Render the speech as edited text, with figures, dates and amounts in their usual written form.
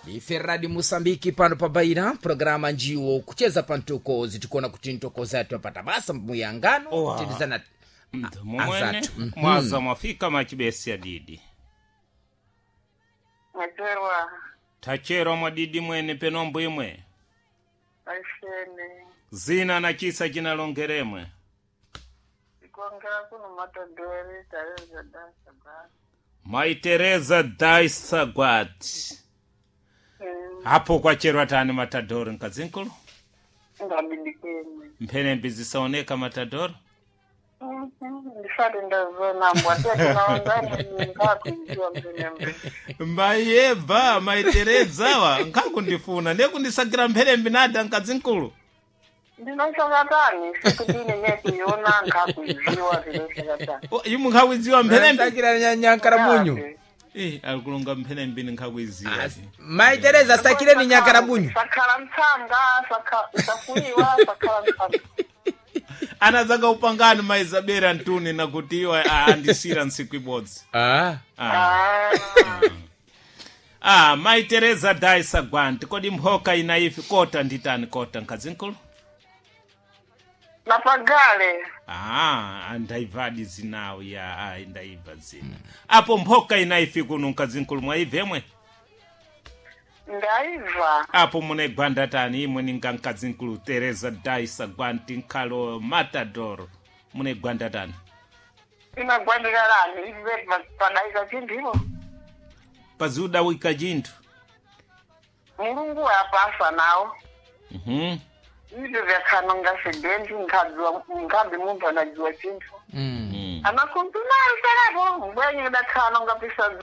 Ife Radi Musambiki pano pa Baira, programa njiwo kucheza pa ntokozi, tikuona kuti ntokozi atu apata basa muyangano Owa. kutindizana Mumwene azatu. mwaza mwafika machibesi adidi. Mwacherwa. Tacherwa mwadidi mwene penombo imwe. Aishene. Zina na chisa chinalongeremwe. Ikongera kuno matadori Tereza dansa ba. Mai Teresa Daisagwat. Hapo kwacherwa tani matadoro nkazinkulu. Ngabidikeni. Mphenembe zisaoneka matadoro. Ndifati ndazona mbwa tete naongani ngakuiziwa mpenembe. Mayeba Mai Teresa wa nkakundifuna ndekundisakira mphenembe nada nkazinkulu. Ndinosakatani siku dini nekuiona ngakuiziwa ndinosakatani. O, Imwe nkhawidziwa mphenembe. Sakira nyankara munyu. Eh, alikulonga mphenembe nkhawidziwa. Mai Teresa sakireni nyankara munyu. Sakhala mtsanga, safuiwa, sakhala mtsanga. Anazanga upangani maizabera ntuni nakuti iwo andisira ntsiku ibodzi. Ah. Ah. Ah. Ah, Mai Teresa Daisa Gwant, kodi mphoka ina ifi kota nditani kota nkazinkulu? Napagale. Ah, ndaibvadi zinawo ya ah, ndaibva zina. Apo mphoka ina ifi kuno nkazinkulu mwaibvemwe? Ndaibva. Apo mune gwanda tani imwe ninga nkazinkulu Teresa Daisa Gwant nkhalo Matador. Mune gwanda tani. Inagwandikalani ive padaika chinthu. Pazuda wika chinthu. Mulungu wapasa nawo. Mhm. Ibyo vyakhanonga sedenzi nkhadziwa nkhabi munthu anadziwa chinthu. Mm. Anakumpimali serapo mbwenye dakhanonga pisa.